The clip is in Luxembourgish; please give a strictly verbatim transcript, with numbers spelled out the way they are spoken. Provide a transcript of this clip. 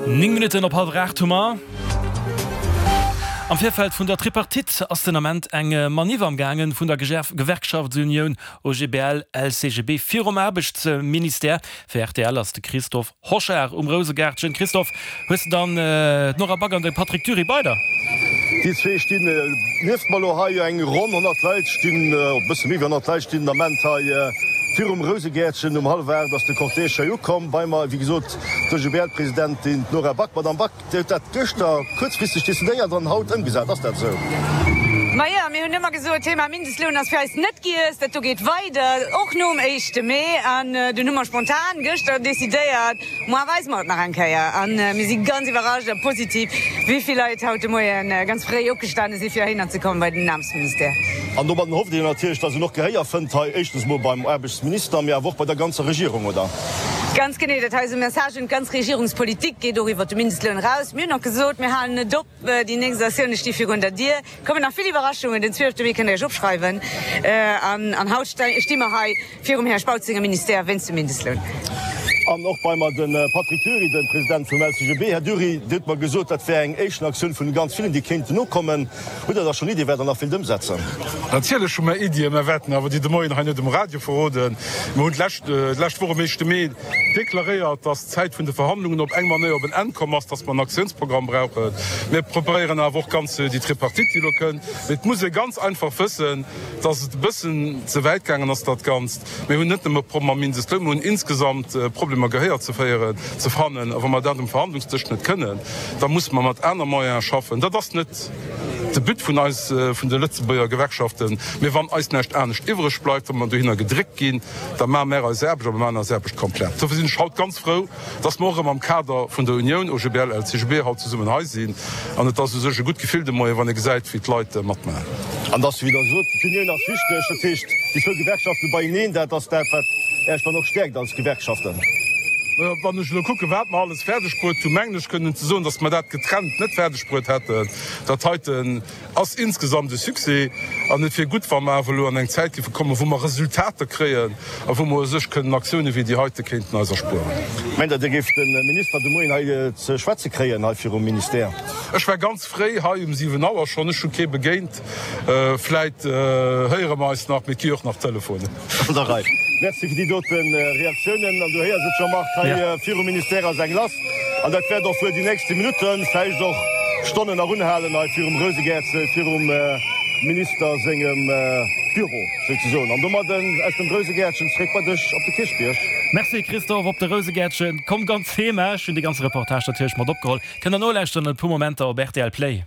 Néng Minutten op hallwer aacht hu mer. Am Virfeld vun der Tripartite ass den Ament eng Maniff am gaangen vun der Gewerkschaftsunioun O G B L L C G B virum Aarbechtsministère. Fir R T L ass de Christophe Hochard um Rousegaartchen. Christophe, hues de dann d'Nora Back an de Patrick Dury bei der? Déi zwee stinn nieft mer elo hei. Eng ronn honnert Leit stinn, e bësse méi wéi honnert Leit stinn den Ament hei virum Rousegäertchen. Um hallwer aacht ass de Cortège hei ukomm. Bei mer, wéi gesot, d'O G B L-Presidentin, d'Nora Back. Madame Back, Dir hutt dat gëschter kuerzfristeg decidéiert an haut ëmgesat. Ass dat esou? Majo, mir hunn ëmmer gesot, Thema Mindestloun ass fir eis net giess. Dat do geet weider, och nom éischte Mee. An dunn hu mer spontan gëschter decidéiert, Moar weise mer et nach eng Kéier. A mir si ganz iwwerrascht a positiv, wéi vill Leit haut de Moie ganz fréi opgestane si fir heihinner ze kommen bei den Aarbechtsministère. An domadden hofft Dir natierlech, datt een och Gehéier fënnt hei, éischtens mol beim Aarbechtsminister, mee awer och bei der ganzer Regierung, oder? Ganz genee, dat hei ass e Message un d'ganz Regierungspolitik, geet och iwwert de Mindestloun eraus. Mir hunn och gesot, mir halen net op, déi nächst Aktioune sti virun der Dier. Et kommen nach vill Iwwerraschungen, den zwielefte Mee kënnt Der Iech opschreiwen. An haut sti mer hei virum Här Spautz sengem Ministère wéinst dem Mindestloun. An och bei mer de Patrick Dury, de President vum L C G B. Här Dury, Dir hutt mer gesot, dat wär eng éischten Aktioun vun ganz villen, déi kéinten nokommen. Hutt Der da schonn Iddie, wat Der nach wéilt ëmsetzen? Natierlech hu mer Iddien. Mer wäerten awer déi de Moien hei net um Radio verroden. Mer hunn d'lescht Woch um éischte Mee deklaréiert, dass d'Zäit vun de Verhandlungen op eng Manéier op en Enn komm ass, dass mer en Aktiounsprogramm brauchen. Mir preparéieren awer och ganz déi Tripartite, déi elo kënnt. Mee et muss ee ganz einfach wëssen, dass et e bëssen ze wäit gaangen ass, dat Ganzt. Mir hunn net nëmme Problemer mam Mindestloun, mir hunn insgesamt Problemer Gehéier ze féieren, ze fannen. A wa mer dat um Verhandlungsdësch net kënnen, da musse mer mat aner Moyene schaffen. Dat ass net de But vun eis, vun de Lëtzebuerger Gewerkschaften. Mee wann eis näischt anescht iwwreg bleift, wa mer dohinner gedréckt ginn, da maache mer eis Aarbecht a mer maachen eis Aarbecht komplett. Dofir sinn ech haut ganz frou, dass mer och erëm am Kader vun der Unioun O G B L, L C G B haut zesummen hei sinn. An et ass u sech e gutt Gefill de Moien, wann ee gesäit, wéi d'Leit matmaachen. An dass, wéi Der sot, d'Unioun ass wichteg, dat heescht, déi zwou Gewerkschafte beieneen, dat ass dat, wat Äech dann och stäerkt als Gewerkschaften. Wann ech elo kucken, wat mer alles fäerdeg bruet hunn, mengen ech kënnen ze soen, dass mer dat getrennt net fäerdeg bruet hätten. Dat heiten ass insgesamt e Succès an et wier gutt, wa mer awer elo an eng Zäit géife kommen, wou mer Resultater kréien a wou mer u sech kënnen Aktiounen wéi déi heite kéinten eis erspueren. Mengt Der, Dir géift de Minister de Moien hei ze schwätze kréien, hei virum Ministère? Ech war ganz fréi hei, um siwen Auer schonn. Ech hu kee begéint. Vläit héiere mer eis nach, mee et gi jo och nach Telefonen. An der Rei. Merci fir déi dote Reaktiounen. An du héiers et, Jean-Marc, hei virum Ministère ass eng lass. An dat wäert och wuel déi nächste Minutten, vläicht och Stonnen nach unhalen hei virum Rousegäerzel, virum Minister sengem Büro souzesoen. An domadden aus dem Rousegäertchen zréck bei dech op de Kierchbierg. Merci Christophe, op de Rousegäertchen komm ganz heem. Ech hunn dee ganze Reportage natierlech mat opgeholl. Kënnt der nolauschteren an e puer Momenter op R T L Play.